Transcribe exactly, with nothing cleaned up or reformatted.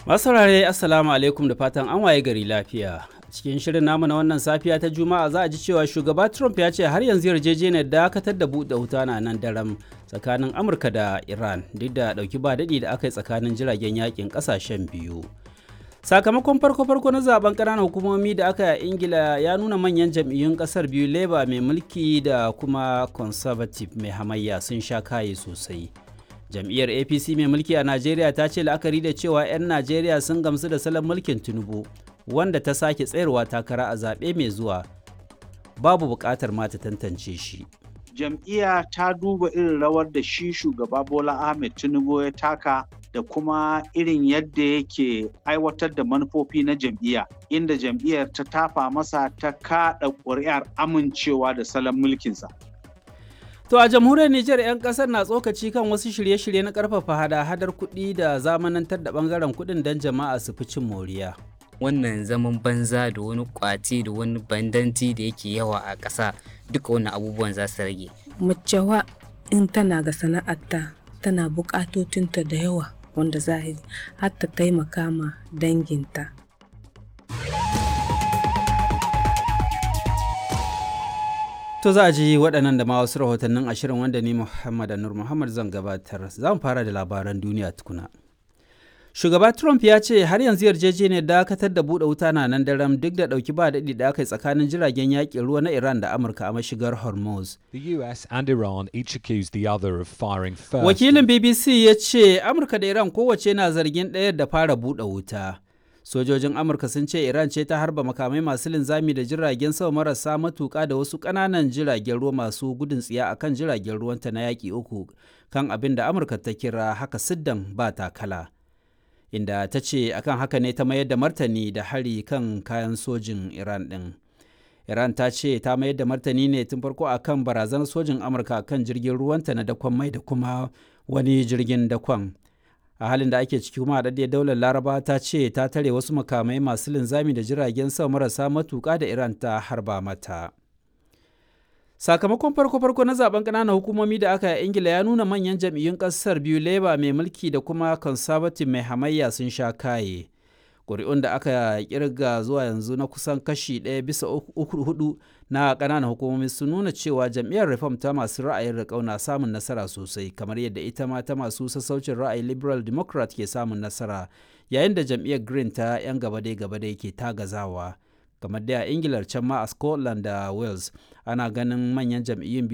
Masaurare, Assalamu alaikum, da fatan an waye gari lafiya. Cikin shirin namu na wannan safiya ta Juma'a za a ji cewa shugaba Trump ya ce har yanzu yarjejeniyar dakatar da buɗe wuta na nan daram tsakanin Amurka da Iran, duk da ɗauki ba daɗi da aka yi tsakanin jiragen yakin ƙasashen biyu. Sakamakon farko-farko na zaben ƙananan hukumomi da aka yi a Ingila ya nuna manyan jam'iyyun ƙasar biyu, Labour mai mulki da kuma Conservative mai hamayya, sun sha kaye sosai. Jam'iyyar A P C mai mulki a Najeriya ta ce la'akari da cewa 'yan Najeriya sun gamsu da salon mulkin Tinubu, wanda ta sake tsayarwa takara a zaɓe mai zuwa, babu buƙatar ma ta tantance shi. Jam'iyya ta duba irin rawar da shi shugaba Bola Ahmed Tinubu ya taka da kuma irin yadda yake aiwatar da manufofi na jam'iyya, inda jam'iyyar ta tafa masa ta kaɗa ƙuri'ar amincewa da salon mulkinsa. To a jamhuriyar Nijar, 'yan kasar na tsokaci kan wasu shirye-shirye na karfafa hada-hadar kuɗi da zamanantar da bangaren kuɗin don jama'a su fi cin moriya. Wannan zaman banza da wani kwace da wani bandanci da yake yawa a ƙasa, duka wannan abubuwan za su rage. Mace wa in tana ga sana'arta, tana buƙatotinta da yawa wanda za har ta taimaka ma danginta. To za a ji waɗannan da ma wasu rahotannin ashirin wanda ni Muhammad Nur Muhammad zan gabatar. Za mu fara da labaran duniya tukuna. Shugaba Trump ya ce har yanzu yarjejeniyar dakatar da buɗe wuta na nan daram, duk da ɗauki ba daɗi da aka yi tsakanin jiragen yaƙin ruwa na Iran da Amurka a mashigar Hormuz. The U S and Iran each accused the other of firing first. Wakilin B B C ya ce Amurka da Iran kowace na zargin ɗayar da fara buɗe wuta. Sojojin Amurka sun ce Iran ce ta harba makamai masu linzami da jiragen sama marasa matuka da wasu ƙananan jiragen ruwa masu gudun tsiya akan jiragen ruwanta na yaƙi uku, kan abin da Amurka ta kira haka siddan ba takala, inda ta ce akan haka ne ta mayar da martani da hari kan kayan sojin Iran ɗin. Iran ta ce ta mayar da martani ne tun farko akan barazanar sojin Amurka kan jirgin ruwanta na dakon mai da kuma wani jirgin dakon. A halin da ake ciki kuma, haɗaɗɗiyar Daular Laraba ta ce ta tare wasu makamai masu linzami da jiragen sama marasa matuƙa da Iran ta harba mata. Sakamakon farko-farko na zaben ƙananan hukumomi da aka yi a Ingila ya nuna manyan jam'iyyun ƙasar biyu, Labour mai mulki da kuma Conservative mai hamayya, sun sha kaye. Ƙuri'un da aka kirga zuwa yanzu na kusan kashi ɗaya bisa uku hudu na ƙananan hukumomi sun nuna cewa jam'iyyar Reform ta masu ra'ayin riƙau na samun nasara sosai, kamar yadda ita ma ta masu sassaucin ra'ayi Liberal Democrat ke samun nasara, yayin da jam'iyyar Green ta 'yan gaba-dai-gaba-dai ke tagazawa. Kamar dai a Ingilar, can ma a Scotland da Wales ana ganin manyan jam'iyyun